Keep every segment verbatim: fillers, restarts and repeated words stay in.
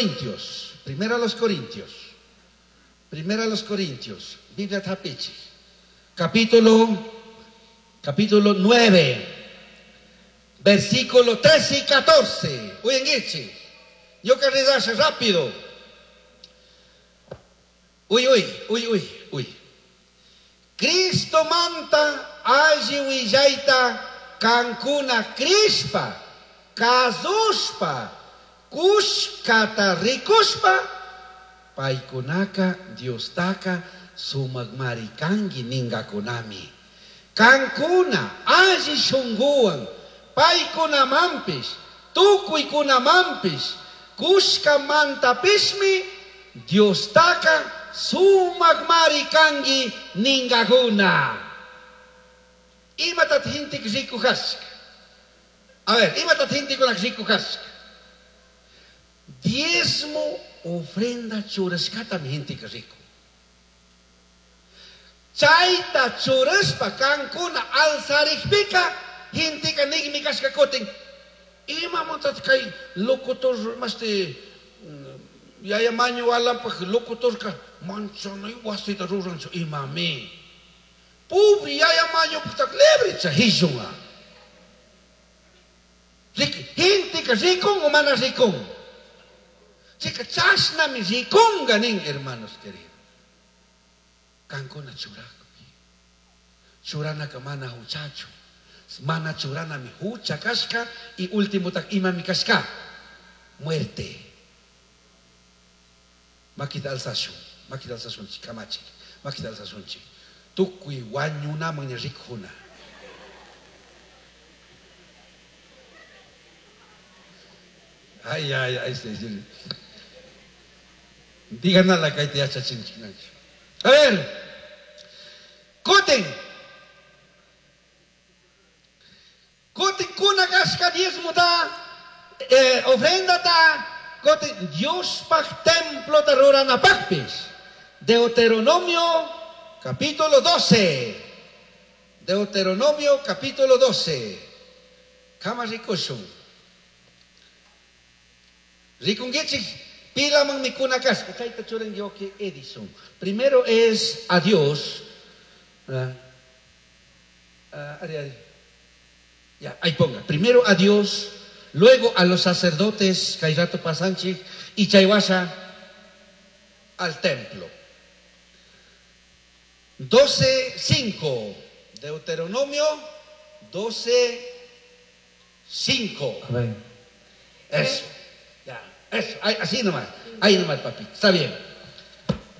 Corintios. Primero a los Corintios. Primero a los Corintios. Biblia tapichi. Capítulo, capítulo nueve. Versículo trece y catorce. Uy, yo que rezarse rápido. Uy, uy, uy, uy, uy. Cristo manta alli willaita kankuna crispa, kazushpa, kushkata rikushpa, paykunaka Diostaka sumakmari kanki ningakunami. Kankuna alli shunguwan, paykunamanpish, tukuykunamanpish, kushkamantapishmi Diostaka sumakmari kanki ningakuna. Imatat hintik rikuhashka. A ver, imatat hintikuna rikuhashka. Diezmo ofrenda churashkatami hintik riku. Chayta churashpa kankuna alzarikpika hintika nigmi kashka kutin. Imamantat kay locutor masti yaya maño alampaj locutorka manchanay wasita ruranchu imami. Pobre yaya maño putak lebricha hishunga. Hintika rikun o mana rikun. Chica chashnami rikunga nin, hermanos queridos. Kankuna churakpi. Churanaka mana huchachu. Mana churanami hucha kashka y último tak imami kashka. Muerte. Makita alzashun, makita alzashunchi, kamachi, makita alzashunchi. Tukuy wañunaman rikuna. Ay, ay, ay, sí, sí. Digan a la calle ya chachinchi. A ver, Koten. Koten kuna kashka diezmo ta, eh, ofrenda ta, koten Dios paj templo ta rurana pajpis. Deuteronomio capítulo doce. Deuteronomio capítulo doce. Kama rikushun. Rikungichik pilaman mikuna kashka. Chayta churan yoki Edison. Primero es a Dios. Uh, uh, ari, ari. Ya, ahí ponga. Primero a Dios, luego a los sacerdotes, Kairato Pasanchik y Chaywasha al templo. doce cinco. Deuteronomio doce cinco. Amén. Eso. Ya, eso. Ahí, así nomás. Ahí nomás, papito. Está bien.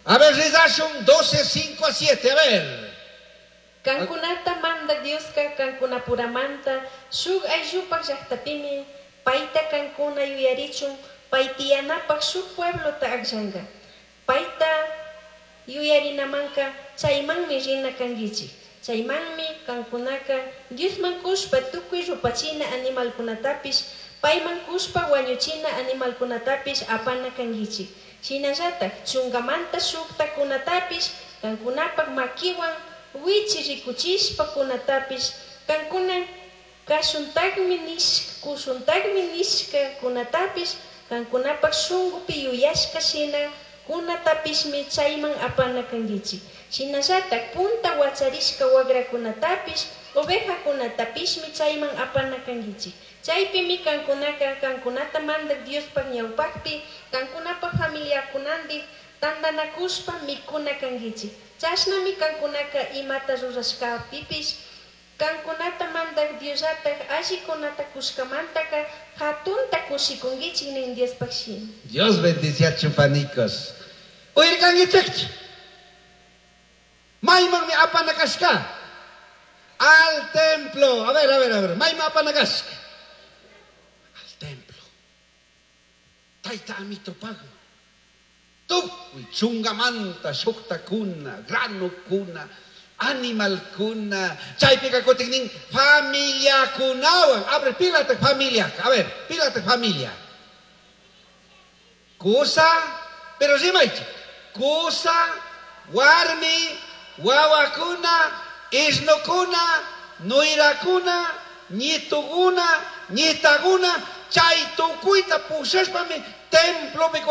A ver, Rizashun doce cinco a siete. A ver. Kankunata manda Dioska kankunapuramanta shuk ayllupak llaqtapimi payta kankuna yuyarichun paytiyanapaq shuk pueblota akllanqa. Payta yuyarinamanka chaymanmi rina kankichik. Chaymanmi kankunaka Diosman kushpa tukuy rupachina animalkunatapish payman kushpa wañuchina animalkunatapish apana kankichik. Shinallatak chunkamanta shuktakunatapish kankunapak makiwan wichi rikuchishpa kunatapish kankuna kashuntaqmi nishka kushuntaqmi nishka kunatapish kankunapak shunkupi yuyashka shina kunatapishmi chayman apana kankichik. Shinallatak punta wacharishka wagrakunatapish ovejakunatapishmi chayman apana kankichik. Chaypimi kankunaka kankunata mandak Diospaq ñawpaqpi kankunapak familiakunandik tantanakushpa mikuna kankichik. Chashnami kankunaka imata rurashkapipish kankunata mandak Diosllatak allikunata kushkamantaka hatunta kushikunkichik nin Diospaq shimi. Dios bendice a chupanicos. Uirkankichikchu. Maymanmi apanakashka. Al templo. A ver, a ver, a ver. Mayman apanakashka. Al templo. Tayta amito pagma. Tukuy chungamanta shuktakuna, granukuna, animalkuna, chaypika kutin familiakunawan. Abre, pílate familia. A ver, pílate familia. Kusa, pero rimaychik. Kusa, warmi, wawakuna, isnukuna, nuirakuna, ñituguna, ñitaguna, chay tukuyta pushashpami templopi